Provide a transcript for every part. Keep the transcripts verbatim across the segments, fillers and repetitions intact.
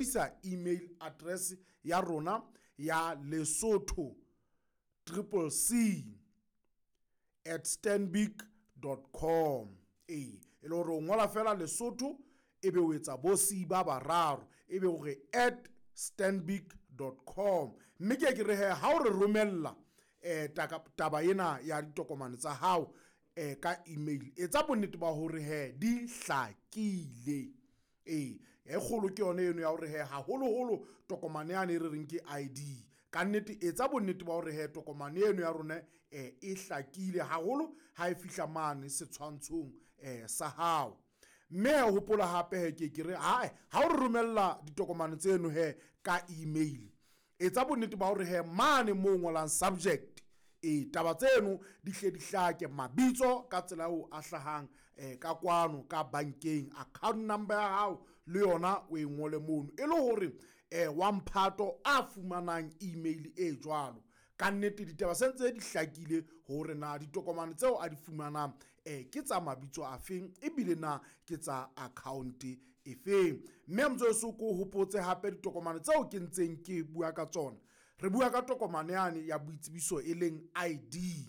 Isa email address ya rona ya Lesotho triple C at stanbic dot com. Ee, e le hore o ngola fela Lesotho ebe o etsa bo C ba bararo ebe o re at stanbic dot com. Mme ke ke re he ha o re romella eh taba ena ya ditokomane tsa hao eh ka email, etsa bonnete ba hore he di hlakile. Ee, e kgolo ke yona eno ya hore he haholoholo tokomane yane e re reng ke I D. Ka nnete etsa bonnete ba hore he tokomane eno ya rona eh e hlakile haholo ha e fihla mane setshwantshong eh sa hao. Mme hopola hape he ke ke re hae ha o re romella ditokomane tseno he ka email, etsa bonnete ba hore he mane mo ngolang subject e taba tseno di hle di hlake, mabitso ka tsela eo a hlahang eh ka kwano ka bankeng, account number ya hao le yona o e ngole mono, e le hore eh wa mphato a fumanang email e jwalo. Ka nnete ditaba se ntse di hlakile hore na ditokomane tseo a di fumanang eh ke tsa mabitso a feng ebile na ke tsa account e feng. Mme motsoso ko hopotse hape ditokomane tseo ke ntseng ke bua ka tsona. Re bua ka tokomane yane ya boitsebiso e leng I D.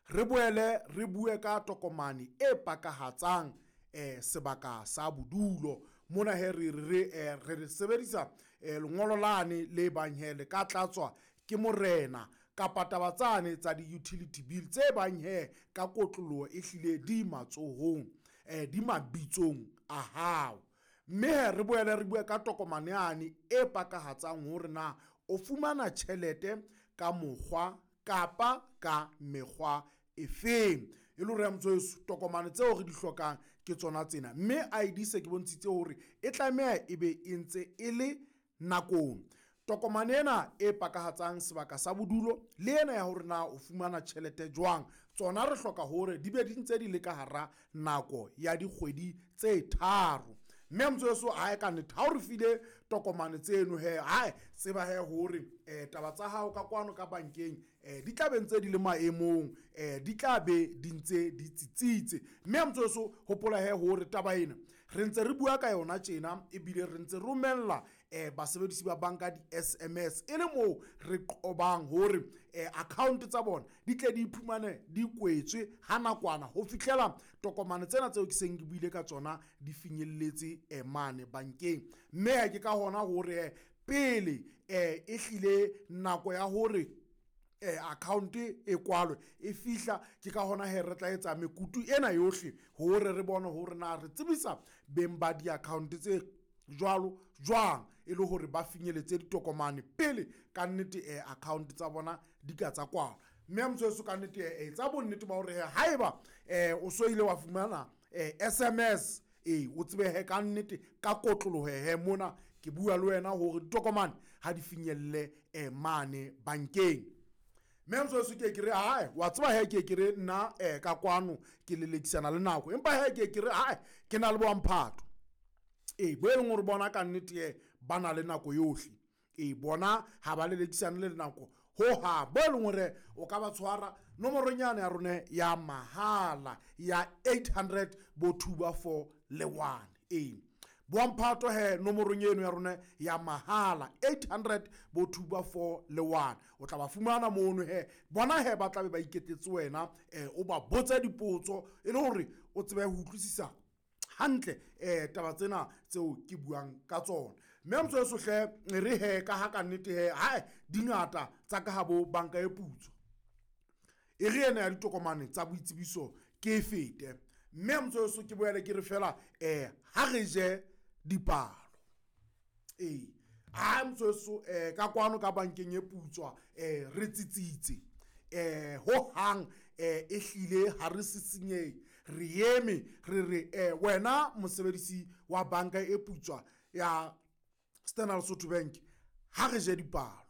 Re boele re bue ka tokomane e pakahatsang eh sebaka sa bodulo. Mona he re re re re sebedisa lengolo lane le bang he le ka tlatswa ke morena kapa taba tsane tsa di-utility bill tse bang he ka kotloloho e hlile di matsohong eh di mabitsong a hao. Mme re boele re bue ka tokomane yane e pakahatsang hore na o fumana tjhelete ka mokgwa kapa ka mekgwa efeng. E le hore motsoso tokomane tseo re di hlokang ke tsona tsena. Mme I D se ke bontshitse hore e tlameha ebe e ntse e le nakong. Tokomane ena e pakahatsang sebaka sa bodulo le ena ya hore na o fumana tjhelete jwang, tsona re hloka hore di be di ntse di le ka hara nako ya dikgwedi tse tharo. Mme motsoso hae ka nnete ha o re file tokomane tseno he hae tseba he hore eh taba tsa hao ka kwano ka bankeng eh di tla be ntse di le maemong, eh di tla be di ntse di tsitsitse. Mme motsoso hopola he hore taba ena re ntse re bua ka yona tjena ebile re ntse romella eh basebedisi ba banka di S M S e le moo re qobang hore eh account tsa bona di tle di iphumane di kwetswe ha nakwana ho fihlela tokomane tsena tseo ke seng ke buile ka tsona di finyelletse eh mane bankeng. Mme ke ka hona hore pele eh e hlile nako ya hore eh account e kwalwe e fihla, ke ka hona he re tla etsa mekutu ena yohle hore re bone hore na re tsebisa beng ba di-account tse jwalo jwang e le hore ba finyeletse ditokomane pele ka nnete eh account tsa bona di ka tsa kwalwa. Mme motsoso ka nnete eh etsa bonnete ba hore haeba eh o so ile wa fumana eh S M S eh o tsebe he ka nnete ka kotloloho he mona ke bua le wena hore ditokomane ha di finyelle eh mane bankeng. Mme motsoso ke ke re hae wa tseba he ke ke re nna eh ka kwano ke lelekisana le nako, empa he ke ke re hae ke na le bo mphato e bo e leng hore bona ka nnete e ba na le nako yohle. E bona ha ba lelekisane le nako ho ha bo e leng hore o ka ba tshwara nomoronyana ya rona ya mahala ya eight hundred bo two ba four le one. E bo mphato he nomorong eno ya rona ya mahala eight hundred bo two ba four le one. O tla ba fumana mono he bona he ba tla be ba iketetse wena eh o ba botse dipotso e le hore o tsebe ho utlwisisa hantle eh taba tsena tseo ke buang ka tsona. Mme motsoso hle re he ka ha ka nnete he hae dingata tsa ka ha bo banka e putswa e re ena ya ditokomane tsa boitsebiso ke e fete. Mme motsoso ke boele ke re fela eh ha re je dipalo. Ee ha motsoso eh ka kwano ka bankeng e putswa eh re tsitsitse eh ho hang eh e hlile ha re sisinyehe, re eme re re eh wena mosebedisi wa banka e putswa ya Standard Lesotho Bank ha re je dipalo.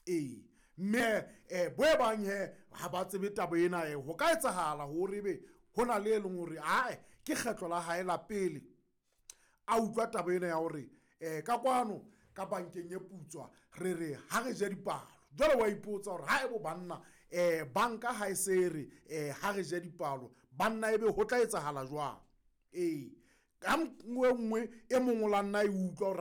Ee mme eh bo e bang he ha ba tsebe taba ena eh ho ka etsahala hore ebe hona le e leng hore ae ke kgetlo la hae la pele a utlwa taba ena ya hore eh ka kwano ka bankeng e putswa re re ha re je dipalo. Jwale wa ipotsa hore ha ebo banna eh banka ha e se re eh ha re je dipalo banna ebe ho tla etsahala jwang. Ee ka nngwe nngwe e mong o la nna e utlwa hore